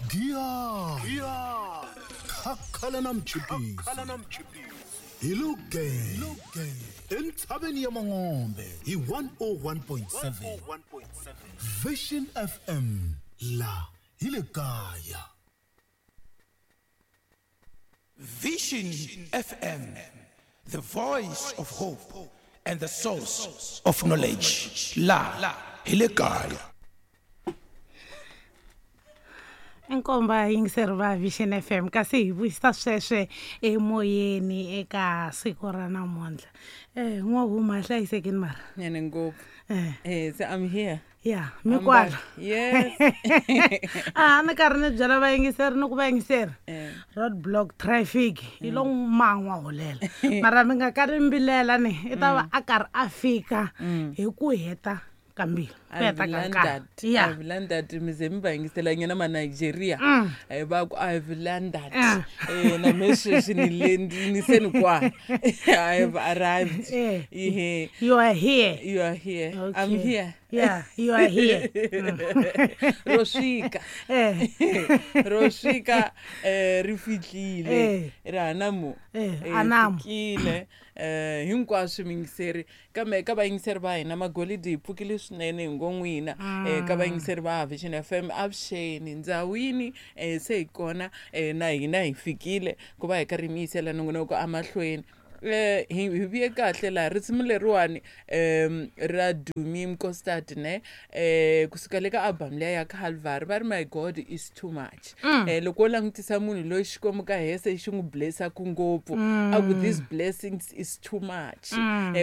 Giya Khakhala na mchipisi hi lo ge entshaveni ya Mangombe hi 101.7 Vision FM la hi le kaya. Vision FM, the voice of hope and the source of knowledge. La hi le kaya. Inkomba yingiseri va Vision FM kasi hi vuyisa sweswe emoyeni eka siku ra namuntlha. N'wahuma hlayisekini mara. Nyane ngopfu. So I'm here. Ya, mi kwala. Yes. A ni karhi ni byela vayingiseri ni ku vayingiseri. Road block traffic yi lo man'wa holela. Mara mi nga karhi mbilela ni i ta va a karhi a fika hi ku heta kambili. Ku heta ka nkarhi. Yeah. I've landed mi ze mi va yingisela nyana ma Nigeria. Va ku I've landed. Na me sweswi ni le ni se ni kwa. I've arrived. Ihe. You are here. You are here. Okay. I'm here. Yeah, you are here. Ro swika. Ro swika ri fitlile. Ra namu. Anamu. Fikile. Hinkwaswo mingiseri kambe ka vayingiseri va hina magolidi hi pfukile swinene hi ngo n'wina ka vayingiseri va Vision FM avuxeni ndzawini se hi kona na hina hi fikile ku va hi karhi mi yisela nongonoko amahlweni. Hi vuye kahle laha risimu leriwani ra Dumi Mkostad ne kusuka le ka album leya ya Calvary va ri my God is too much. Loko wo langutisa munhu loyi Xikwembu ka hese xi n'wi blessaku ngopfu a ku these blessings is too much.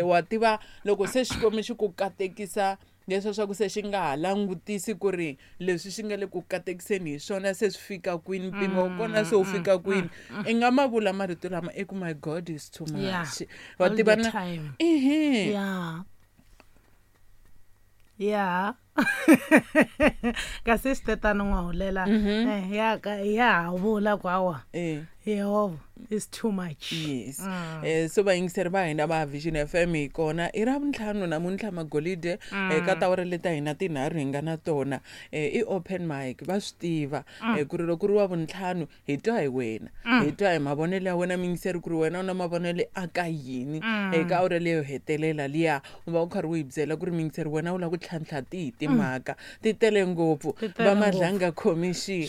Wa tiva loko se Xikwembu xi ku katekisa leswi swa ku se xi nga ha langutisi ku ri leswi xi nga le ku katekiseni hi swona se swi fika kwini mpimo wa kona se wu fika kwini i nga ma vula marito lama i ku my God is too much. Wa tiva na ehe ya kasi swi n'wa hulela ya ka ya vula ku awa Yehovha is too much. Yes. So vayingiseri va hina va Vision FM hi kona i ra vuntlhanu namuntlha magolide ka tawara leta hina tinharhu hi nga na tona i open mic va swi tiva ku ri loko ri wa vuntlhanu hi twa hi wena hi twa hi mavonelo ya wena muyingiseri ku ri wena u na mavonelo a ka yini eka awara leyo hetelela liya u va u karhi u hi byela ku ri muyingiseri wena u lava ku tlhantlha tihi timhaka ti tele ngopfu va Madlanga Commission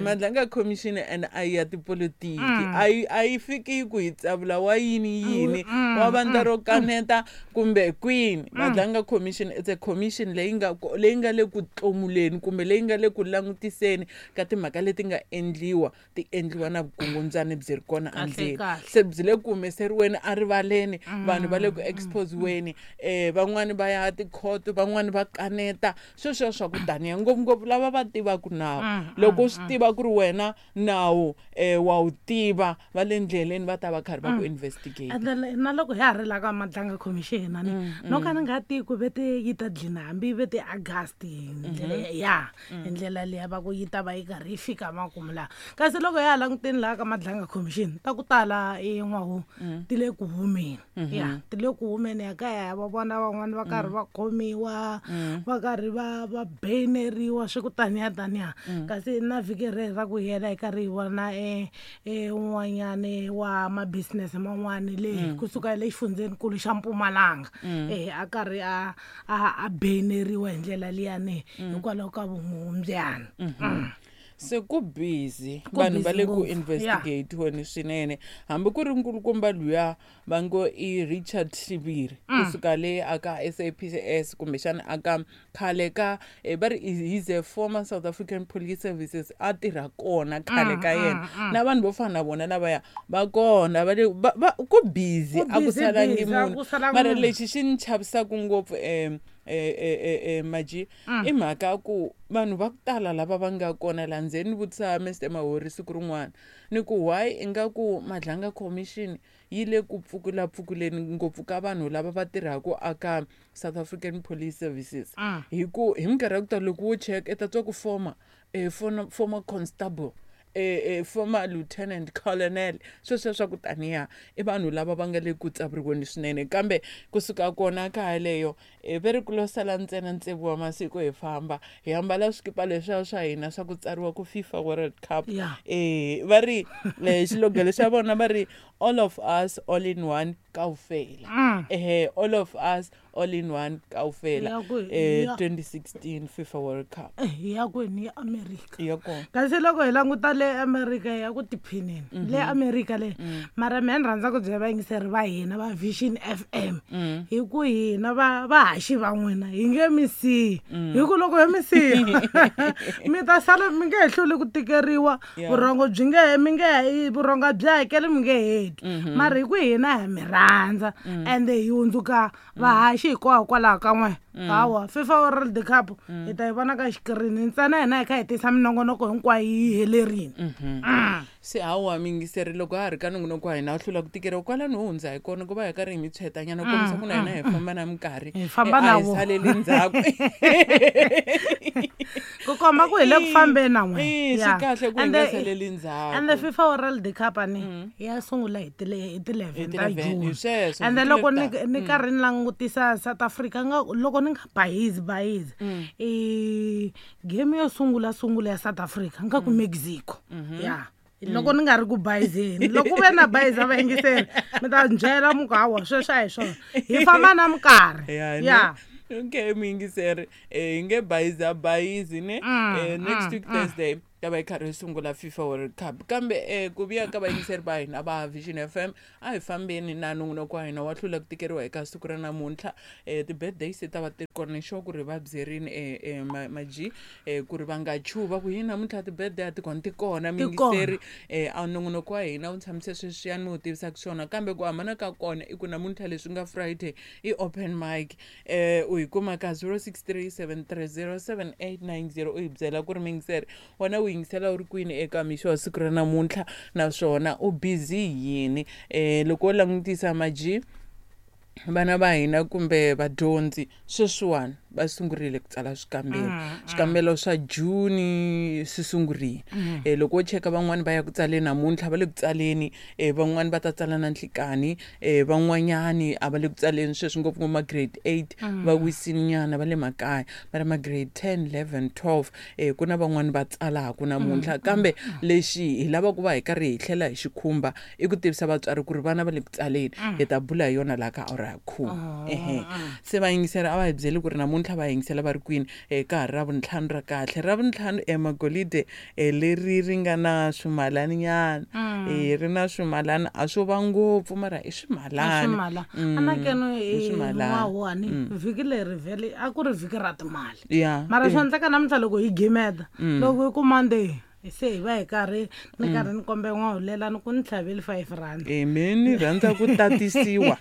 Madlanga Commission and a ya tipolotiki a yi fiki ku hi tsavula wa yini yini wa vandla ro kaneta kumbe kwini. Madlanga Commission it's a commission leyi nga le ku tlomuleni kumbe leyi nga le ku langutiseni ka timhaka leti nga endliwa ti endliwa na vukungundzani byi ri kona endzeni se byi le ku humeseriweni erivaleni vanhu va le ku exposiweni van'wani va ya tikhoto van'wani va kaneta sweswo swa ku taniya ngopfungopfu lava va tivaka nawu loko u swi tiva ku ri wena nawu wa wu tiva va le ndleleni va ta va karhi va ku investigate. And na loko hi ha ri la ka Madlanga Commission ani no ka ni nga tivi ku vete yi ta dlina hambi vete August hi ndlela ya hi ndlela liya va ku yi ta va yi karhi yi fika makumu laha kasi loko ya languteni laha ka Madlanga Commission ta ku tala i n'wahu ti le ku humeni ya ti le ku humeni ya kaya va vona van'wani va karhi va khomiwa va karhi va beneriwa swi ku taniya taniya kasi na vhiki reri ra ku hela hi karhi hi vona un'wanyani wa ma business man'wani le kusuka le xifundzenikulu xa Mpumalanga a karhi a beneriwa hi ndlela liyani hikwalaho ka vumumbyana. Se ku busy vanhu va le ku investigate weni swinene hambi ku ri nkulukumba luya va ngo i Richard Shiviri kusuka le aka SAPS kumbexana aka khale ka va ri he's a former South African Police Services a tirha kona khale ka yena na vanhu vo fana na vona lavaya va kona va le ku busy a ku salangi munhu mara lexi xi ni chavisaka ngopfu Maji i mhaka ku vanhu va ku tala lava va nga kona laha ndzeni ni vutisa Mr Mahori siku rin'wana ni ku why ingaku Madlanga Commission yi le ku pfukulapfukuleni ngopfu ka vanhu lava va tirhaka aka South African Police Services hi ku hi minkarhi ya ku tala loko wo check i ta twa ku former former constable Former lieutenant colonel, sweswo swa ku taniya i vanhu lava va nga le ku tsavuriweni swinene. Kambe kusuka kona ka yaleyo, ve ri ku lo sala ntsena tsevu wa masiku hi famba hi ambala swikipa leswiya swa hina swa ku tsariwa ku FIFA World Cup. Va ri xilogelo xa vona va ri all of us all in one kaufela. All of us all in one kaufela. Ya ku- 2016 FIFA World Cup. Ya kwini? Ya America? Ya kona. Kasi loko hi languta le America, ya ku tiphineni le America le. Mara mehe ni rhandza ku byela vayingiseri va hina va Vision FM hi ku hina va vahaxi va n'wina hi nge mi siyi, hi ku loko yo mi siya mi ta sala mi nge he hluli ku tikeriwa. Vurhongo byi nge mi nge vurhongo byi hakeli, mi nge heti. Mara hi ku hina ha mi rhandza ende hi hundzuka vahaxi hikwalaho ka n'we. Hawa, FIFA World Cup hi ta yi vona ka xikirini ntsena, hina hi kha hi tisa minongonoko hinkwayo yi helerile. Se hawa miyingiseri, loko ha ri ka nongonoko wa hina wu hlula ku tikeriwa kwalano ho hundza hi kona ku va hi karhi hi mi tshwetanyana ku kombisa ku na hina hi famba na minkarhi. Hi famba A na hi wo. saleli ndzhaku. Ku komba ku hi le ku fambeni na n'we. Eh, swi kahle ku hi nga saleli ndzhaku. And the FIFA World Cup ani ya sungula hi ti-11 ta Hi ti-11, June. hi sweswo, And vhiki loko ni leri ni karhi ni langutisa South Africa nga loko ni nga bayizi bayizi, i game yo sungula sungula ya South Africa nga ku Mexico. Ya, loko ni nga ri ku bayizeni, loko ku ve na bayiza vayingiseri mi ta byela mu ku hawa sweswo a hi swona, hi famba na minkarhi. Ya, ne? Ya. Okay, muyingiseri, hi nge bayiza bayizi ne. Next week Thursday ta va yi karhi yi sungula FIFA World Cup. Kambe ku vuya ka vayingiseri va hina va Vision FM, a hi fambeni na nongonoko wa hina wa hlula ku tikeriwa eka siku ra namuntlha. Ti-birthdays ta va ti ri kona, ni sure ku ri va byerini maji ku ri va nga chuhi va ku hi namuntlha ti-birthday a ti kona, ti kona. Ti Muyingiseri, a nongonoko wa hina wu tshamise sweswiyani mi wu tivisaka swona, kambe ku hambana ka kona i ku namuntlha leswi nga Friday i open mic. U hi kuma ka 0637307890, u hi byela ku ri muyingiseri wena u yingisela u ri kwini eka mixo wa siku ra namuntlha, naswona u busy yini. Loko wo langutisa maji, vana va hina kumbe vadyondzi sweswiwani va sungurile ku tsala swikambelo, swikambelo swa June swi sungurile. Loko wo cheka van'wani va ya ku tsaleni namuntlha, va le ku tsaleni. Van'wani va ta tsala na nhlikani, van'wanyani a va le ku tsaleni sweswi, ngopfungopfu ma grade 8 va wisini nyana, va le makaya. Mara ma grade 10, 11, 12, ku na van'wani va tsalaku namuntlha. Kambe lexi hi lava ku va hi karhi hi tlhela hi xi khumba i ku tivisa vatswari ku ri vana va le ku tsaleni. Hi ta bula hi yona laha ka awara ya khume. Ehe, se vayingiseri a va hi byeli ku ri namuntlha va yingisela va ri kwini. Ka ha ri Ravuntlhanu ra kahle, Ravuntlhanu emagolide leri ri nga na swimalani nyana. Ri na swimalani, a swo va ngopfu mara i swimalani. Swimala anakeno. I swimalani. N'wahuwani vhiki leri vhele a ku ri vhiki ra timali. Mara swi endleka namuntlha loko hi gimeta, loko hi ku Monday se hi va hi karhi ni karhi ni kombe n'wahulela ni ku ni tlhaveli R5. Me ni rhandza ku tatisiwa,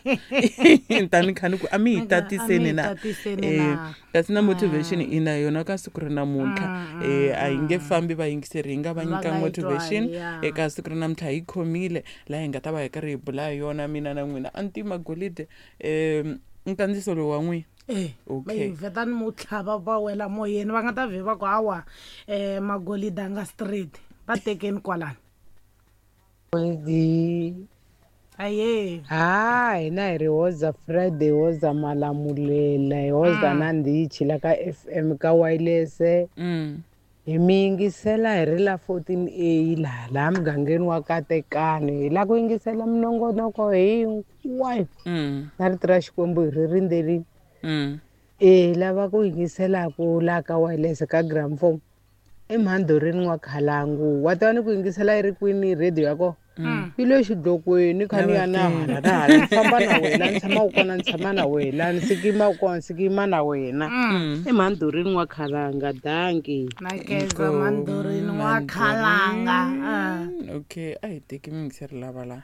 tani kha ni ku a mi hi A mi tatiseni hi na. tatiseni na. Kasi na motivation i na yona ka siku ra namuntlha. A hi nge fambi vayingiseri hi nga va Va nyika nga yi motivation twali, ya. Eka siku ra namuntlha hi khomile laha hi nga ta va hi karhi hi bula hi yona mina na n'wina antima golide. Nkandziso lowu wa n'wina. Eh, Okay. vhetani mo tlhava va wela moyeni, va nga ta vhe va ku hawa magolide a nga straight, va tekeni kwalani. Goldi. Aye. Ha, hina hi ri hoza Friday, hoza Malamulela, hi hoza na ndichi la ka FM ka wireless. Hi mi yingisela hi ri la 14A laha laha mugangeni wa Katekani. Hi la ku yingisela minongonoko hinkwayo. Na rito ra Xikwembu hi ri rindzerile. E lava ku yingiselaku laha ka wireless ka gramophone i Mhandzorini wa Khalangu. Wa tiva ni ku yingisela yi ri kwini radio ya kona? Yi le xidlokweni kha ni ya na hala na hala, ni famba na wena, ni tshama u kona, ni tshama na wena, ni sikima u kona, ni sikima na wena. I Mhandzorini wa Khalanga, danki. Na keza Mandorini wa Khalanga. Ah. Okay, a hi teki miyingiseri lava laha.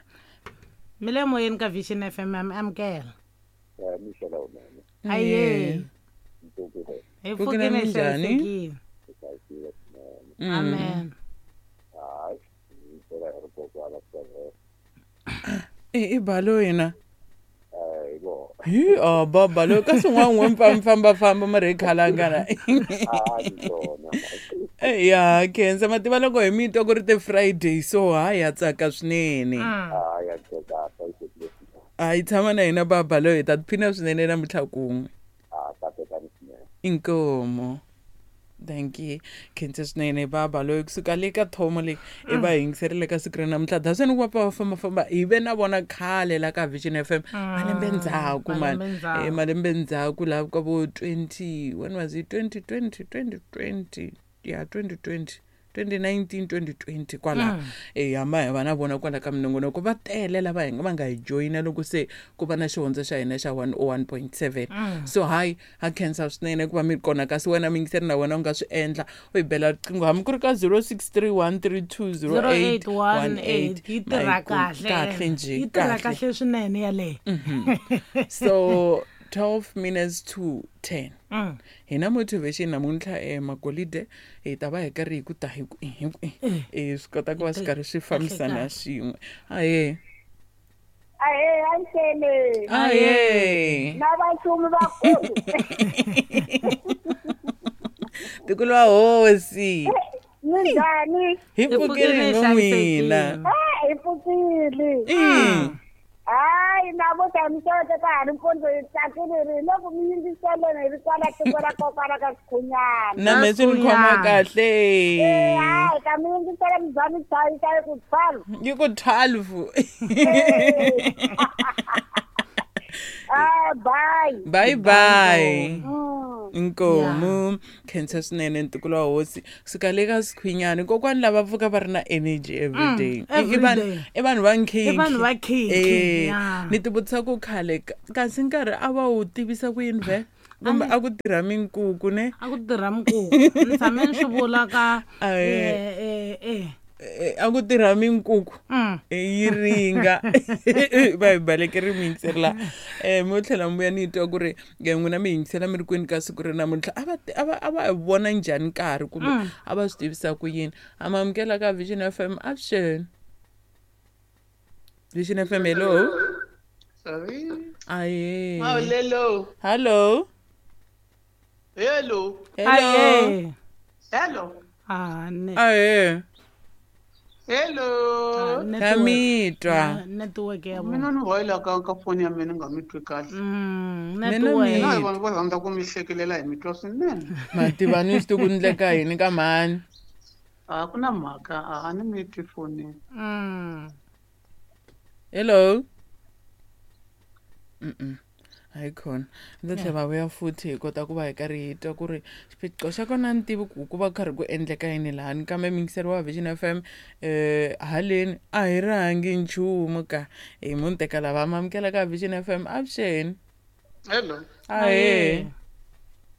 Mi le moyeni ka Vision FM, ya mi amukela. Aye. Hi Pfukile pfukile, hi minjhani? hlayisekile. Amen. I balo yena. Hi a baba loyi ka swin'wana n'we mi fambafamba mi ri hi khalangana. A ni swona. Ya khensa mativa loko hi mi twa ku ri ti-Friday so ha ya tsaka swinene. A ya khensa hlayisekile. A yi tshama na hina baba loyi hi ta tiphina swinene namuntlha kun'we. A katekani swinene. Inkomo. Thank you. Khensa swinene baba loyi kusuka le ka thomo leyi i va yingiserile ka siku ra namuntlha daseni ku va pfa va fambafamba hi ve na vona khale la ka Vision FM malembe ndzhaku mani. Malembe ndzhaku. Malembe ndzhaku laha ka vo 20 when was it 2020 2020 ya 2020 2019 2020 kwala hamba hi va na vona kwala ka minongonoko va tele lava hi va nga hi joyina loko se ku va na xihondzo xa hina xa 101.7 so hayi ha khensa swinene ku va mi kona kasi wena miyingiseri na wena u nga swi endla u hi bela riqingho hambi ku ri ka 0631320818 0818 yi tirha kahle kahle njhe yi tirha kahle swinene yaleyo. So 12 minutes to 10 hi na motivation namuntlha magolide hi ta va hi karhi hi ku ta hi ku hi ku swi kota ku va swi karhi swi fambisana swin'we. Ahe. Ahee, axele. Ahe. Na vaxumi vakulu. Tikulu wa hosi. Minjhani? Hi pfukile hi n'wina. Hi pfukile. Hayi namuntlha mi sote ka ha ri mpundzu hi tsakile ri loko mi yingiseleni hi ri kwala tiko ra kokwana ka Sikhunyana. Na me swi ni khoma kahle. Hayi ka mi yingisela mi za mi chayisa yi ku 12. Yi ku 12. Ah, bye. Bye bye. Inkomo khensa swinene ntukulu wa hosi kusuka le ka Sikhunyana kokwani lava pfuka va ri na energy every day. I vanhu va nkhinkhi. I vanhu va nkhinkhi. Ni ti vutisa ku khale kasi nkarhi a va wu tivisa ku yini vhe kumbe a ku tirha minkuku ne? A ku tirha minkuku. Ni tshame ni swi vula ka a ku tirha minkuku yi ringa va hi balekeri mi yingiseri la mo tlhela mi vuya ni twa ku ri n'wina mi yingisela mi ri kwini ka siku ri namuntlha a va vona njhani nkarhi kumbe a va swi tivisa ku yini. A ma amukela ka Vision FM avuxeni. Vision FM hello. Sorry. Aye. Hello. Hello. Hello. Hello. Hello. Aye. Hello. Kamitwa. Network ya vona. Mina ni hoyela ka phone ya mina nga mi twi kahle. Network. Mina vanhu va rhandza ku mi hlekelela hi mitwa swinene. Mativa ni swi ku ndleka yini ka mhani? A ku na mhaka, a ni mi twi phone. Hello. Hayi khona ndzi tlhela va vuya futhi hi kota ku va hi karhi hi twa ku ri xiphiqo xa kona ni tivi ku ku va karhi ku endleka yini lahani kambe miyingiseri wa Vision FM haleni a hi rhangi nchumu ka hi munhu teka lava amukela ka Vision FM avuxeni. Hello. Ahee.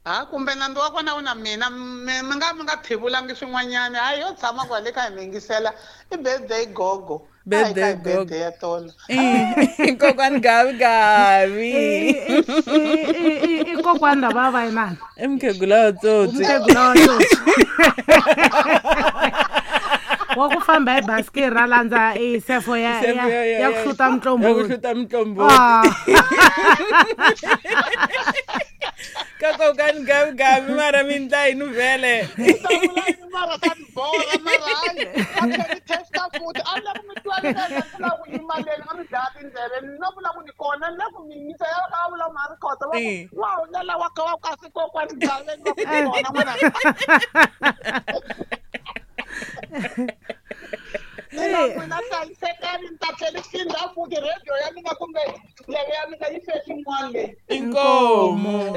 Ha kumbe nandzu wa kona wu na mina mi nga thivulangi swin'wanyana hayi yo tshama kwale ka hi mi yingisela i birthday gogo. Birthday gogo ya tolo. Kokwani gavi gavi. I kokwani lava va inani. I mukhegula wa tsotsi. Mukhegula wa tsotsi. Wa ku famba hi basket ra landza i sefo ya ku hluta mutlomboti. Ya ku hluta mutlomboti. Ka kokani gavi gavi mara mi ndla yini vhele? Mara ka ni borha mara hayi a tlhela ni testa futhi a ni la ku mi twa ni la ku yima leni a mi dlaya tindleve ni no vula ku ni kona ni la ku mi yingisa ya ka vula ma ri khota va ku wa hulela wa ka wa kasi kokwani gaveni va ku ni kona n'wana. Mina n'wina hlayisekani ni ta tlhela ni phinda futhi radio ya mina kumbe ndleve ya mina yi fe xin'wana leyi. Inkomo.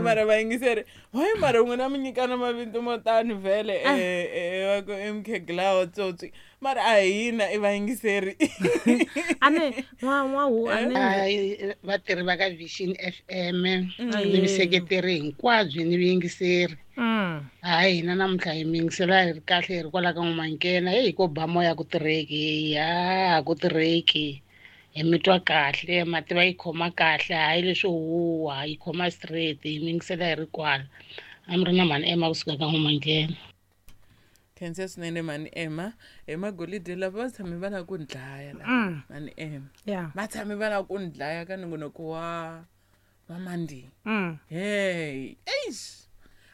Mara va yingiseri hayi mara n'wina mi nyikana mavito mo tani vhele va ku i mukhegula wa tsotsi mara a hina i vayingiseri. Ane n'wahu ane vatirhi va ka Vision FM ni miseketeri hinkwabyo ni vayingiseri. Hayi hina namuntlha hi mi yingisela hi ri kahle hi ri kwala ka N'wamankena heyi ko ba moya ku tirheki ya ku tirheki. Hi mi twa kahle mativa yi khoma kahle hayi leswo huwa yi khoma straight hi mi yingisela hi ri kwala. A mi ri na mhani Emma kusuka ka N'wamankena. Khensa swinene mani Emma. Emagolide lava va tshame va lava ku ni dlaya lava mani Emma. Va tshame va lava ku ni dlaya ka nongonoko wa wa Monday. Hey, eish.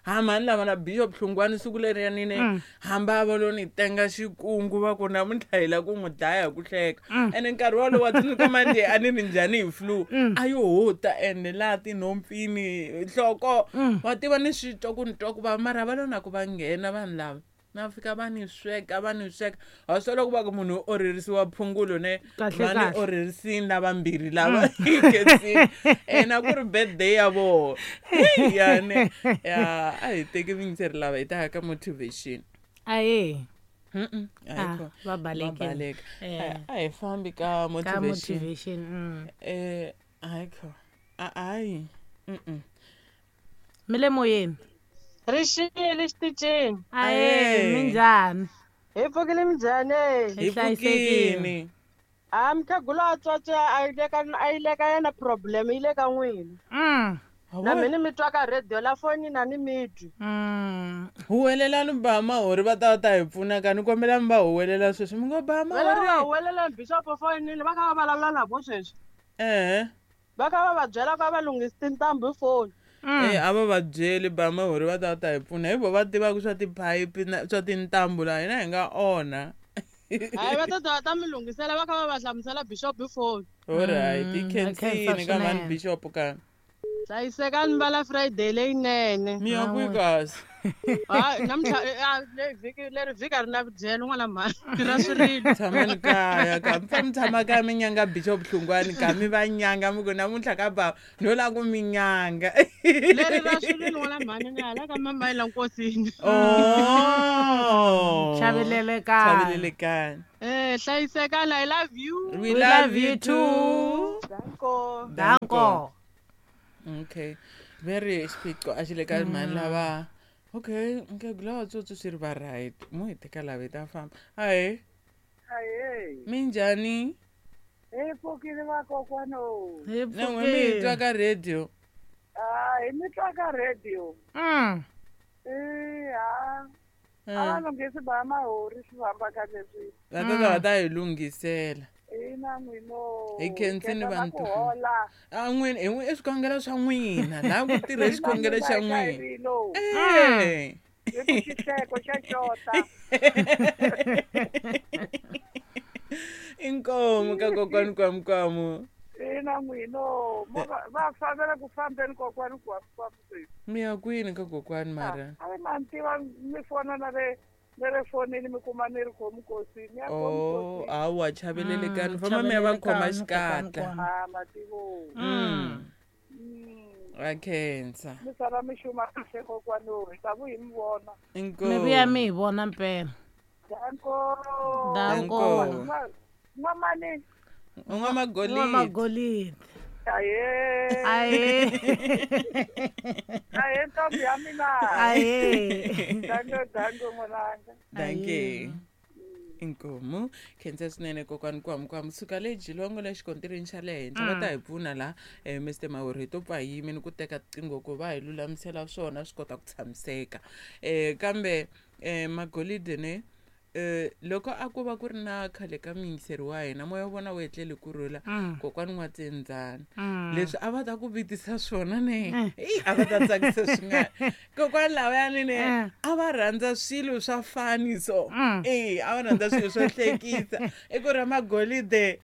Ha mhani lava na Bishop Hlungwani siku leriyani ne hamba va lo ni tenga xikungu va ku namuntlha hi la ku n'wi dlaya hi ku hleka. Ene nkarhi wolowo wa tsundzuka Monday a ni ri njhani hi flu. A yo huta ene laha tinhompfini nhloko wa tiva ni swi twa ku ni twa ku vava mara va lo na ku va nghena vanhu lava. Na fika va ni sweka va ni sweka wa swi loko va ku munhu u orherisiwa phungulo ne Kahle, va ni kahle. orherisini lavambirhi lava khensini ena ku ri birthday ya vona Hey, ya ne ya a hi teki vuyingiseri lava hi ta ya ka motivation Ahee. Mm-mm, a hi Ah, kona. va balekile. Va baleka. Eh. A hi fambi ka Ka motivation motivation. A hi kona. A hayi Mm-mm. Mi le moyeni. Ri xile xitichini. Ahee, minjhani? Hi pfukile minjhani? Hi pfukini. A mukhegula a tswatse a yi le ka a yi le ka yena problem yi le ka n'wina. Na mina mi twa ka radio la fonini a ni mi twi. Huwelelani ba mahori va ta va ta hi pfuna ka ni kombela mi va huwelela sweswi mi ngo ba Vele va mahori huwelela bishop fonini va kha va vulavula na vo sweswi. ehe Va kha va va byela ku a va lunghisi tintambu hi foni. Eh, a va va byeli ba mahori va ta va ta hi pfuna hi vo va tivaka swa tiphayiphi na swa tintambu laha hina hi nga onha Hayi va ta ta va ta mi lunghisela va kha va va hlamusela bishop hi foni. Alright hi khensa khensini ka mhani swinene. bishop ka Hlayisekani va la Friday leyinene. mi ya kwihi kasi Hayi namuntlha leyi vhiki leri vhiki a ri na vudyelo n'wana mhani ra swirilo. Tshamani kaya ka mi fane mi tshama kaya mi nyanga bishop Hlungwani ka mi va nyanga mi ku namuntlha ka bava no lava ku mi nyanga Leri ra swirilo n'wana mhani ni hala ka mamayila nkosini. Oh. Chavelelekani. Chavelelekani. Eh hlayisekani I love you. We love you too. Danko. Danko. Okay. Very xiphiqo a xi le ka mhani lava. Okay, nkhegula wa tsotsi swi ri va right. Mo hi teka lava hi ta famba. Ahee. Ahee. Minjhani? Hi pfukile vakokwani. Hi Na n'we mi hi twa ka radio. Ah, hi mi twa ka radio. Eh, ha. A va lunghisi ba mahori swi famba kahle swi. Va ta ta va ta hi lunghisela. Ina n'wino. Hi khensini Khensa na ku vantu. hola. A n'wina hi n'wi i swikhongelo swa n'wina laha ku tirha xikhongelo xa n'wina. Eh. Hi ku xihleko xa xota. Inkomu ka kokwani kwamukwamu. Ina n'wino. Mo va fambela ku fambeni kokwani kwamukwamu sweswi. Mi ya kwini ka kokwani mara? A va ni tiva mi fona na le na le fonini mi kuma ni ri khomikosini. Ya Oh, hawa chavelelekani famba mi ya va khoma xikatla. Ah, mativo. Va khensa. Mi sala mi xuma kahle kokwani hi ta vu hi mi vona. Mi vuya mi hi vona mpela. Danko. Danko. N'wamani. N'wamagolidi. N'wamagolidi. Aye. Aye. Aye ntombi ya mina. Aye. Danko danko n'wananga. Danke. Inkomu khensa swinene kokwani kwamukwamu suka le jilongo le xikontirini xa le henhla va ta hi pfuna laha Mr Mawuri hi to pfa hi yimini ku teka tiqingho ku va hi lulamisela swona swi kota ku tshamiseka kambe magolide ne loko a ku va ku ri na khale ka muyingiseri wa hina moya wa vona wu etlele kurhula kokwani n'watsendzana leswi a va ta ku vitisa swona ne eyi a va ta tsakisa swin'wana kokwani lavayani ne a va rhandza swilo swa fani so e a va rhandza swilo swo hlekisa i ku ri magolide